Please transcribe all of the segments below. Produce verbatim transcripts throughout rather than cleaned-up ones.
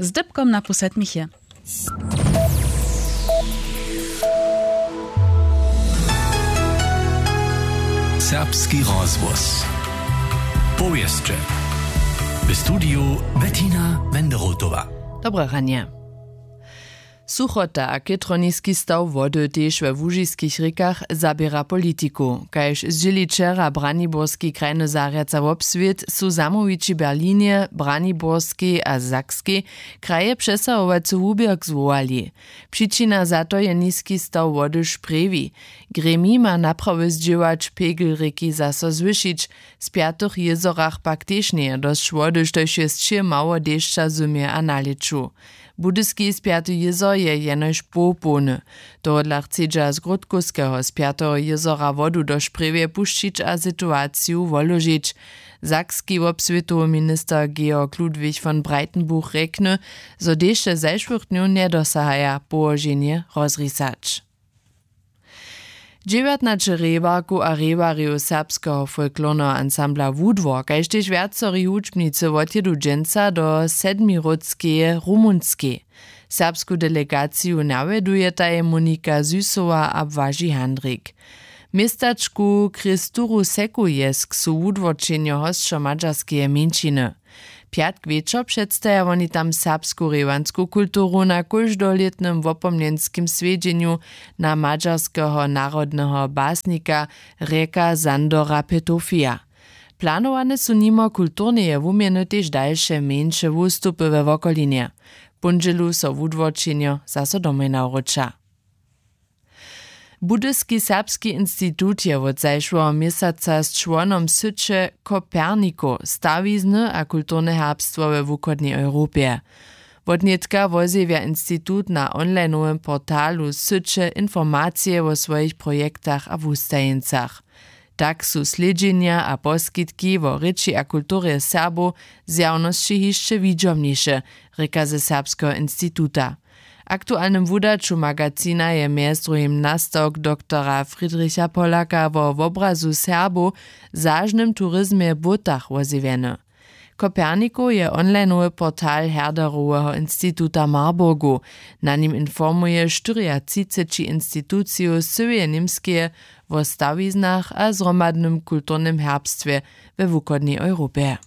Z dypkom na pół sedmich je. Serbski rozhłos. Powěsće. W studiju Bettina Wenderotowa. Dobre ranje. Suchota a chětrowniski staw wody tež we łužiskich rěkach zaběra politiku. Kaž zdźěli wčera braniborski krajny zarjad za wobswět, su zamołwići w Berlinje, Braniborskej a Sakskej kraje přesahowacy wuběrk zwołali. Přičina za to je niski staw wody w Sprjewi. Gremij ma naprawy zdźěłać, pegel rěki zaso zwyšić. W spjatych jězorach pak tež njeje dosć wody, štož je sće mało dešća w zymje a na lěću. Budyski spjaty jězor je jenož połpołny. Tohodla chcedźa z Grótkowskeho spjateho jězora wodu do Sprjewje pušćić a situaciju woložić. Sakski wobswětowy minister Georg Ludwig von Breitenbuch rjekny, zo dešće zašłych dnjow njedosahaja połoženje rozrisać. Dźewjatnaće rěbarkow a rěbarjow serbskeho folklorneho ansambla Wudwor kaž tež wjacori hudźbnicy wotjědu dźensa do Sedmiródskeje, Rumunskej. Serbsku delegaciju nawjedujetaj Monika Süsowa a Błaži Handrik. W městačku Kristuru Sekujesk su wudworčenjo hosćo madźarskeje mjeńšiny. Pjatk wječor předstaja woni tam serbsku rěwansku kulturu na kóždolětnym wopomnjenskim swjedźenju na madźarskeho narodneho basnika Reka Sandora Petofija. Planowane su nimo kulturneje wuměny tež dalše mjeńše wustupy we wokolinje. W póndźělu so wudworčenjo zaso domoj nawróća. Budyski serbski institut je wot zašłeho měsaca z čłonom syće Koperniko stawizny a kulturne herbstwo we wuchodnej Europje. Wotnětka wozjewja institut na onlinowym portalu syće informacije wo swojich projektach a wustajeńcach. Tak su slědźenja a poskitki wo rěči a kulturje Serbow zjawnosći hišće widźomniše, rěka ze Serbskeho instituta. W aktualnym wudaću magazina je mjez druhim nastawk doktora Friedricha Pollaka wo wobrazu Serbow w zažnym turizmje w błótach wozjewjeny. Kopernikow je onlinowy portal Herderoweho instituta w Marburgu. Na nim informuje štyriatřiceći institucijow z cyłeje Němskeje wo stawiznach a zhromadnym kulturnym herbstwje we wuchodnej Europje.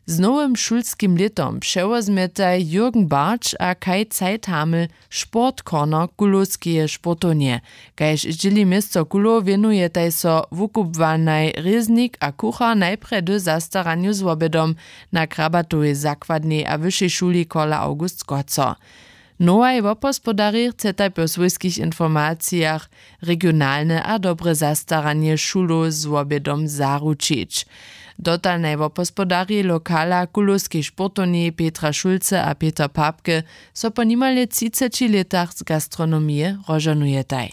Z nowym šulskim lětom přewozmjetaj Jürgen Bartsch a Kai Zeithaml Sportcorner Kulowskeje sportownje. Kaž zdźěli město Kulow wěnujetaj so wukubłanaj Rěznik a Kuchar najprjedy zastaranju z wobydom na Krabatowej zakładnej a wyšej šuli Kola August Scozo. Nowaj wobhospodarjej chcetaj po swójskich informacijach regionalne a dobre zastaranje šulow z wobydom zaručić. Dotal naj wobhospodarjej lokala kulowskej sportownje Petra Šulce a Peter Papke so po nimale třiceći lětach z gastronomije rozžohnujetaj.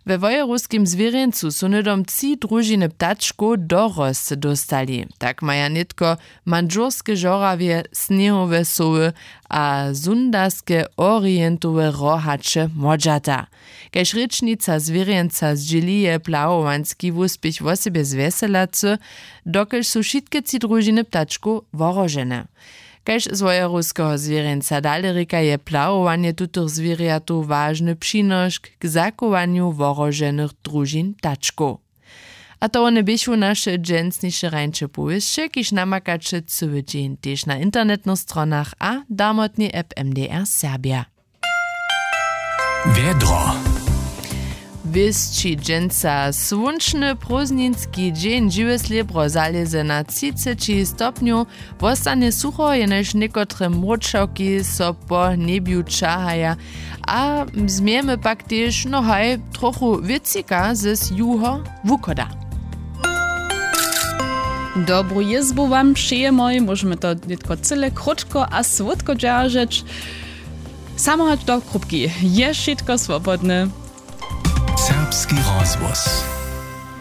We Wojerowskim zwěrjeńcu su hnydom tři družiny ptačkow dorosć dóstali. Tak maja nětko mandžurske žorawje, sněhowe sowy a sundaske orientowe rohaće młodźata. Kaž rěčnica zwěrjeńca zdźěli, je plahowanski wuspěch wosebje zwjeselacy, dokelž su wšitke tři družiny ptačkow wohrožene. Kaž z wojerowskeho zwěrjeńca dale rěka, je plahowanje tutych zwěrjatow wažny přinošk k zachowanju wohroženych družin ptačkow. A to wone běchu naše dźensniše rańše powěsće, kiž namakaće cyły dźeń tež na internetnych stronach a damotnej app M D R Serbja. Wjedro. Wěsći dźensa słónčny prózdninski dźeń, žiwe slěbro zalěze na třiceći stopnjow, wostanje sucho, jenož někotre mróčawki so po njebju ćahaja a změjemy pak tež, no haj, trochu wěcika z juho wuchoda. Dobru jězbu wam přejemoj, móžemy to nětko cyle krótko a słódko dźeržeć. Samo hač do krupki je wšitko swobodne. Serbski rozhłos.